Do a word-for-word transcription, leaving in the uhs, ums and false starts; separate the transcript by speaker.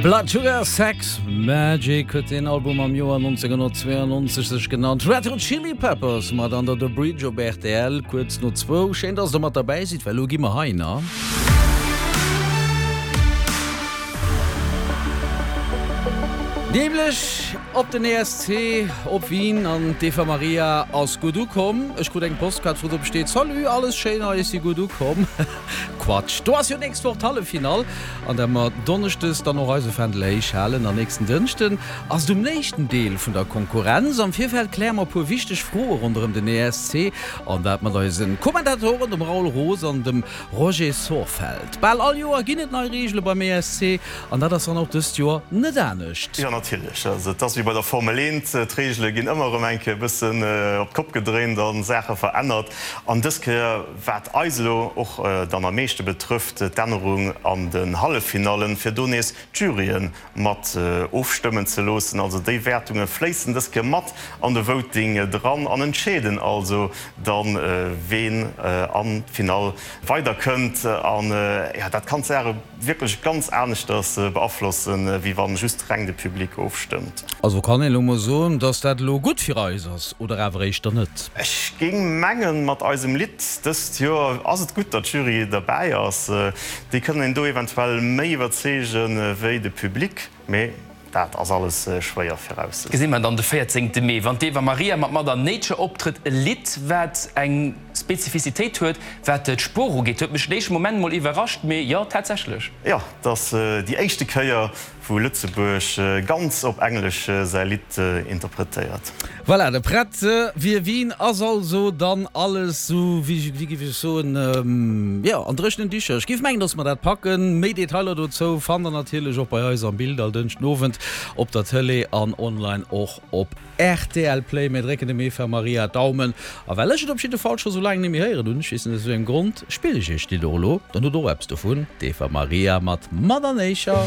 Speaker 1: Blood Sugar Sex Magik huet den Album am Joer neunzehnhundertzweiundneunzeg sech genannt. Red Hot Chili Peppers mat Under the Bridge op R T L kuerz no zwou. Schéin, dass der mat derbäi sidd, well lo gi mer hei na. Nämlech op den E S C op Wien an d'Eva Maria ass gutt ukomm. Ech krut eng Postkaart, wou drop steet: Salut, alles schéin hei, ech si gutt ukomm. Quatsch, do ass jo nächst Woch d'Halleffinall, an der mer donneschdes dann och eise Fändel héich halen. An nächsten Dënschden ass et um éischten Deel vun der Konkurrenz. Am Virfeld kläre mer e puer wichteg Froe ronderëm den E S C an dat mat eise Kommentatoren, dem Raoul Roos an dem Roger Sorfeld. Bal all Joer ginn et nei Reegele beim E S C an dat ass dann och dëst Joer net anescht.
Speaker 2: Jo, natierlech. Also et ass wéi bei der Formel eent, d'Reegele ginn ëmmer erëm eng Kéier e bëssen op d'Kopp gedréint a Saache verännert. An dës Kéier, wat eis elo och dann am meeschte betrëfft, d'Ännerung an den Halleffinallen, fir do nees d'Juryen mat ofstëmmen ze loossen. Also déi Wäertunge fléissen dës Kéier mat an de Voting dran an entscheeden also dann, ween an d'Finall weiderkënnt. An jo, dat kann d'Saache wierklech ganz aneschters beaflossen, wéi wann just reng de Public ofstëmmt.
Speaker 1: Also kann een elo mol soen, dass dat elo gutt fir eis ass, oder awer éischter net?
Speaker 2: Ech géing mengen, mat eisem Lidd dëst Joer ass et gutt, datt d'Jury derbäi ass. Déi kënnen een do eventuell méi iwwerzeegen, wéi de Public, mee dat ass alles schwéier virauszesoen.
Speaker 3: Gesi mer dann de véierzéngte Mee, wann d'Eva Maria mat Mother Nature optrëtt, e Lidd, wat eng Spezifizitéit huet, wat d'Sprooch ugeet. Huet mech den éischte Moment mol iwwerrascht, mee jo, tatsächlech.
Speaker 2: Jo, et ass déi éischte Kéier, wou Lëtzebuerg ganz op Englesch säi Lidd interpretéiert.
Speaker 1: Voilà, de prett fir Wien ass also dann alles sou, wéi wéi géif ech soen, jo, an dréchenen Dicher. Ech géif mengen, dass mer dat packen. Méi Detailer dozou fannt der natierlech och bei eis am Bild all Dënschden Owend op der Tëlee an online och op R T L Play. Mir drécken dem Eva Maria d'Daumen. A well ech et op jidde Fall scho sou laang net méi héieren hunn, ech weess net aus wéi engem Grond, spillen ech iech d'Lidd och elo, dann hutt der och eppes dovun, d'Eva Maria mat Mother Nature.